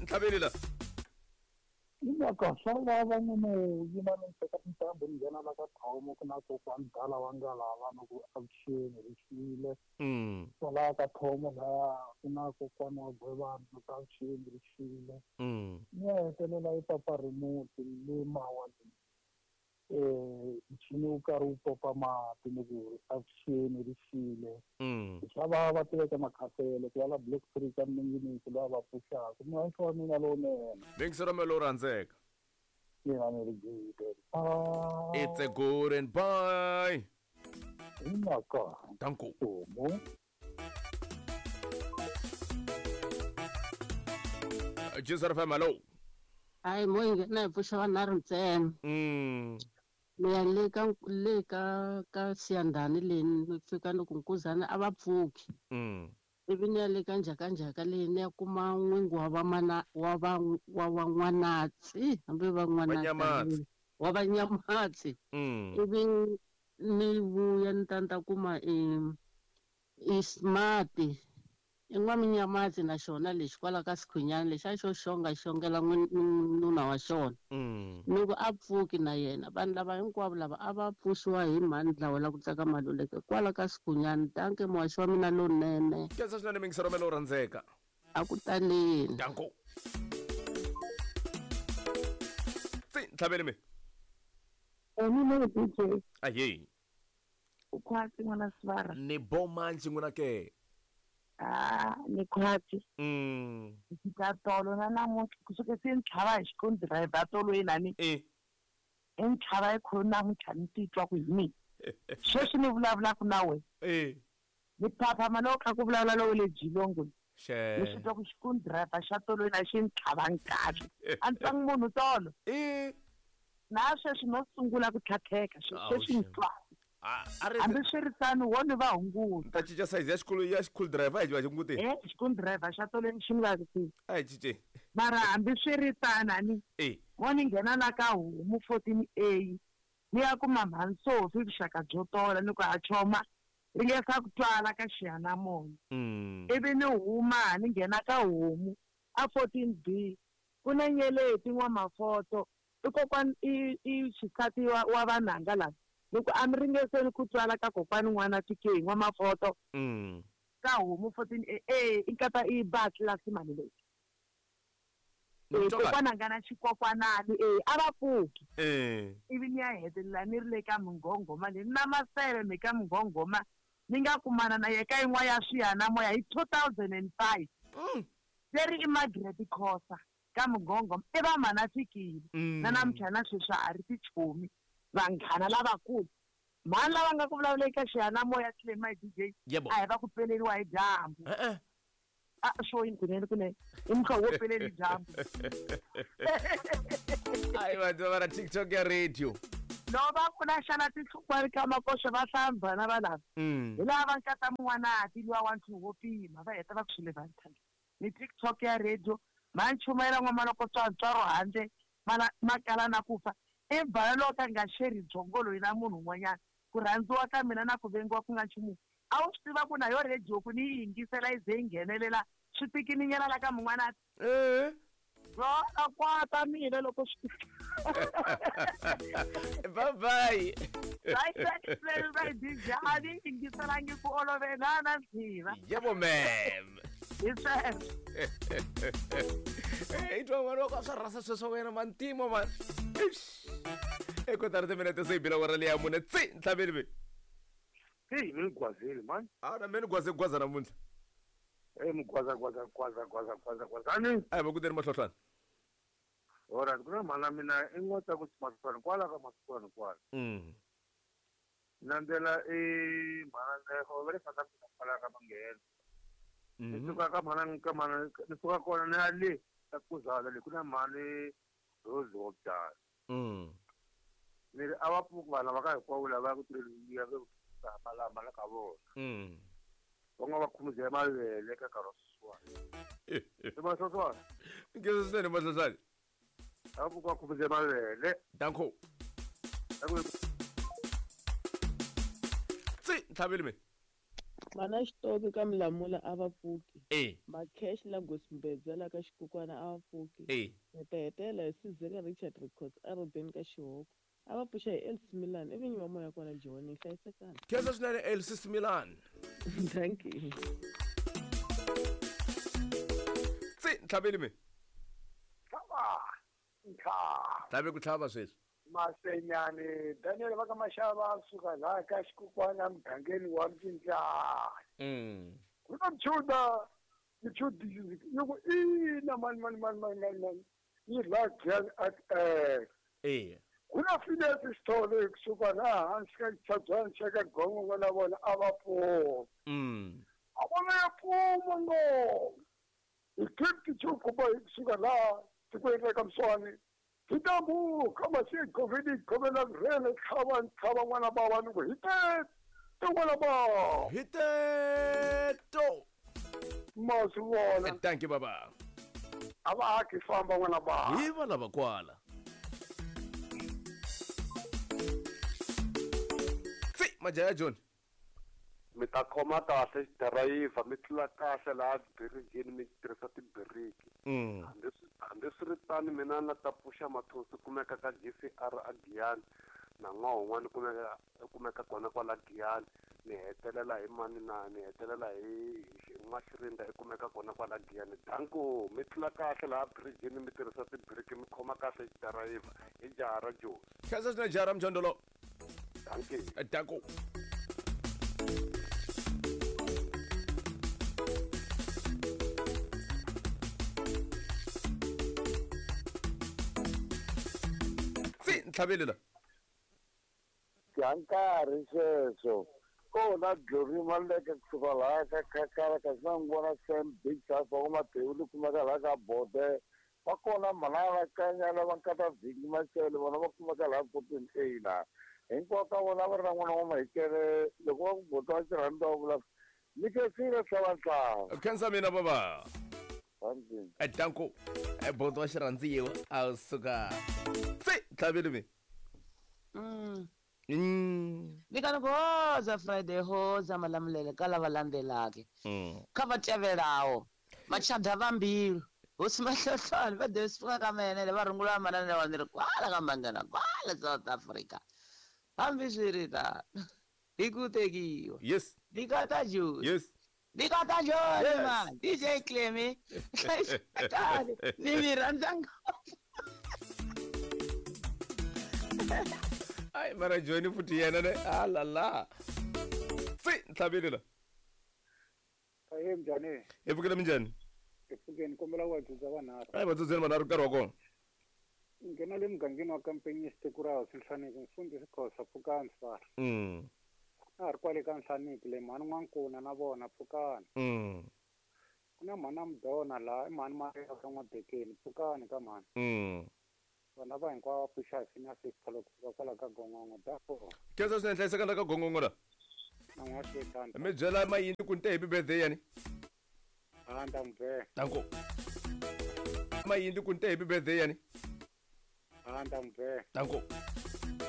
Ntlhaveli la. Mhaka swa vava ni yima ni teka tintambu ni nghena la ka Thomo ku na kokwani dala wa ngalava ni ku avuxeni ri xile. Kwalaya ka Thomo laya ku na kokwani wa Gwevani ni ku avuxeni ri xile. Ni ya hetelela yi papa remote le mawa leyi. Nchini wu karhi wu popa mati ni ku avuxeni ri xile. Swa vava tiveka makhasele ku ya la Block 3 ka Minginisi loyi a va pfuxaka. Muhaxi wa mina lowunene. Mingisero me lowu rhandzeka. Mina ni ri good. It's a good and bye. Hi mhaka. Danko. Homu. Jesus FM, hello. Hayi mo yi nghena hi pfuxa vanharhu ntsena. Ni ya le ka le ka ka Siyandhani le ni fika ni ku Nkuzana a va pfuki. Ivi ni ya le ka Njhakanjhaka le ni ya kuma n'wingi wa vamana wa va wa van'wanatsi hambi Vanyamatsi. wa vanyamatsi. Ivi ni vuya ni ta ni ta kuma i smart i n'waminyamatsi na xona lexi kwala ka Sikhunyani lexi a xo xonga xongela nuna wa xona. Ni ku a pfuki na yena vanhu lava hinkwavo lava a va pfuxiwa hi mhani dlawa la ku tsaka Maluleke kwala ka Sikhunyani. Danke muhaxi wa mina lowunene. Khensa swinene mingisero me lowu rhandzeka. A ku taleni. Danko. Tsi ntlhaveli mi. Mina DJ. Ahee. U khwatsi n'wana Sivara. Ni bo manji n'wina ke. Ah, ni khwatsi. Ka tolo na namuntlha kusuka se ni tlhava hi xikoni driver tolo yinani. I ni tlhava hi khulu namuntlha ni titwa ku hi mina. Sweswi ni vulavulaka na wena. Ni phaphama loko kha ku vulavula lowu le Jilongo. Ni swi twa ku xikoni driver xa tolo yina xi ni tlhava kahle. A ni twangi munhu tolo. Na sweswi no sungula ku tlhatlheka sweswi ni twa. Hambi swi ri tano wo ni va hunguta. Ta cinca size ya xikolo ya xikulu driver hi va hunguti. Xikulu driver xa tolweni xi ni vavisile. A hi cince. Mara hambi swi ri tano ani. Mo ni nghena la ka homu 14A ni ya kuma mhani Sophie vuxaka byo tola ni ku a choma ringesa ku twala ka xiyanimoya. Ivi ni huma ni nghena ka homu a 14B ku na nyeleti n'wamafoto i kokwani i xisati wa vanhanga lava. Loko a mi ringeseni ku twala ka kokwani n'wana TK n'wamafoto ka homu 14A i nkata i ba tlilasi mali leyi. Kokwana nga na xikokwanani a va pfuki. Ivi ni ya hetelela ni ri le ka Mungongoma leyi na maseve me ka Mungongoma ni nga kumana na ye ka yin'wana ya swiyanimoya hi 2005. Leri i Margaret Khosa ka Mungongoma i va mhana fikile. Na namuntlha na sweswi a ri tichomi vanghana lavakulu. Mhani lava nga ku vulavuleni ka xiyanimoya Clay my DJ a hi va ku peleriwa hi dyambu. A swo yini kunene kunene i muhlovo wo peleli dyambu. Ayi vanhu va ra TikTok ya radio. No va ku na xana tinhlukwani ka makoxo va hlamba na va lava. Hi laha va nkata mun'wanati luwa wa ntlhanu wo pima va heta va ku swile va ntlhanu. Ni TikTok ya radio ma nchumayela n'wamaloko tswantswaro handle makala na ku fa. I bala loko ka nga xeri byongo loyi na munhu un'wanyana ku rhandziwa ka mina na ku vengiwa ku nga nchumu. A wu swi tiva ku na yo radio ku ni yi yingisela yi ze yi nghenelela swi tikininyana la ka mun'wanati. Rona kwata mina loko swi Bye bye. Bye bye bye DJ a ni yingiselangi ku olove na na ndziva. Yebo ma'am. Hi sweswo. I twa n'wana wa ka swa rhasa sweswo wena mantimo man. E kotara timinete se yi bile awara leya mune tsi ntlhaveli ve. Hey, mi ni gwazeli man. A na me ni gwaze gwaza namuntlha. Hey, mi gwaza gwaza gwaza gwaza gwaza gwazani. A hi va kuteni mahlohlwana. Alright, ku na mhana mina i n'wa ta ku mahlwana kwala ka mahlwana kwala. Nandzela i mhana Nexo va le South Africa kwala ka Manghena. Ni suka ka mhana ka mhana ni suka kona ni ya le ka Kuzala le ku na mhani Rose wa Byala. Ni ri a va pfuki vanhu lava ka hinkwavo lava ku tirheliwa va malamba la ka vona. Va nga va khumuzela mavele ka nkarhi wa sweswiwani. I mahlohlwana. Nkhensa swinene mahlohlwana. A va pfuki va khumuzela mavele. Danko. Tsi ntlhaveli me. Mana Xitoki ka Milamula a va pfuki. Macash la Gosimbedza la ka Xikukwana a va pfuki. Hi ta hetelela hi Sizeka Richard Records a Robeni ka Xihoko. A va pfuxa hi Elsie Milan i vinyi va moya kwala Joni hlayisekani. Khensa swinene Elsie Milan. Thank you. Tsi ntlhaveli mi. Tlhava. Ntlhava. Tlhave ku tlhava sweswi. Masenyane Daniel va ka Mashava suka laha ka Xikukwana mugangeni wa Mcinjani. Ku na mchuda mchudi yi ku ina mani mani mani mani mani mani yi la gyan at eh. Ku na Phineas Sithole kusuka laha hansi ka xitshabyana xa ka Gongongo na vona a va pfuma. A vona ya pfuma ngopfu. Hi gift chukuba kusuka laha tikweni ra ka Mswani. Hi tambu kama si goveni govena rele tlhava tlhava n'wana bava ni ku hi teto n'wana bava. Hi teto. Ma swi vona. Thank you baba. A va aki famba n'wana bava. Hi va lava kwala. Tsi majaya John. Mi ta khoma kahle driver mi tlula kahle laha birijini mi tirhisa tibiriki. Hambiswiritano mina na ta pfuxa mathosi kumeka ka GCR a Giyani na n'waho un'wana kumeka kona kwala Giyani ni hetelela hi mani na ni hetelela hi N'waxirinda i kumeka kona kwala Giyani. Danko mi tlula kahle laha birijini mi tirhisa tibiriki mi khoma kahle driver hi jaha ra Jozi. Khensa swinene jaha ra Mjondolo. Dankie. Danko. Ntlhaveli la. Ya nkarhi sweswo kona Glory Maleke kusuka laha ka Khakhala kasi na n'wi vona Sam Big Sas va Matewu li kumeka laha ka Bode va kona Manana Kanyala va nkata Vingi Machele vona va kumeka laha Kotweni A laha hinkwavo ka vona va ri na n'wana wa Mahikele loko va ku bota va xirhandza va vula ni khensile tlhava ntlhava. Khensa mina baba. Thank Danko. Boto wa xirhandziwa a suka. Tsi ntlhaveli mi. Ni kana ku hoza Friday hoza malamulele ka lava landzelaka. Kha va tevelaho machada va mbilu hosi mahlohlwana va de swi ka mene va rungula manana wa ni ri kwala ka mangana kwala South Africa. Hambiswiritano hi ku tekiwa. Yes. Ndikata Jozi. Yes. Ndikata Jozi man. DJ Clemmy. Ni mi rhandza ngopfu. Ai mara Johnny futhi yena ne alala. Tsi ntlhaveli la. Ahe njhani? Hi pfukile minjhani? Hi pfukeni kombela ku vatsudza vanharhu. Ai vatsudzeni vanharhu nkarhi wa kona. Nghena le mugangeni wa Kampenyi siku ra hosi Nhlaniki mfundhisi Khosa pfukani sifara. A ha ri kwale ka Nhlaniki le mhani N'wankuna na vona pfukani. Ku na mhana Mudona laha i mhani Maria ka N'wabekeni pfukani ka mhani. Vana va hinkwavo va pfuxa hi Phineas Sithole kusuka kwala ka Gongongo dafo. Khensa swinene hlayiseka la ka Gongongo la. Na n'waxetani. Mi byela mayini ku ni te happy birthday yani. A nta n'wi byela. Danko. Mayini ku ni te happy birthday yani. A nta n'wi byela. Danko.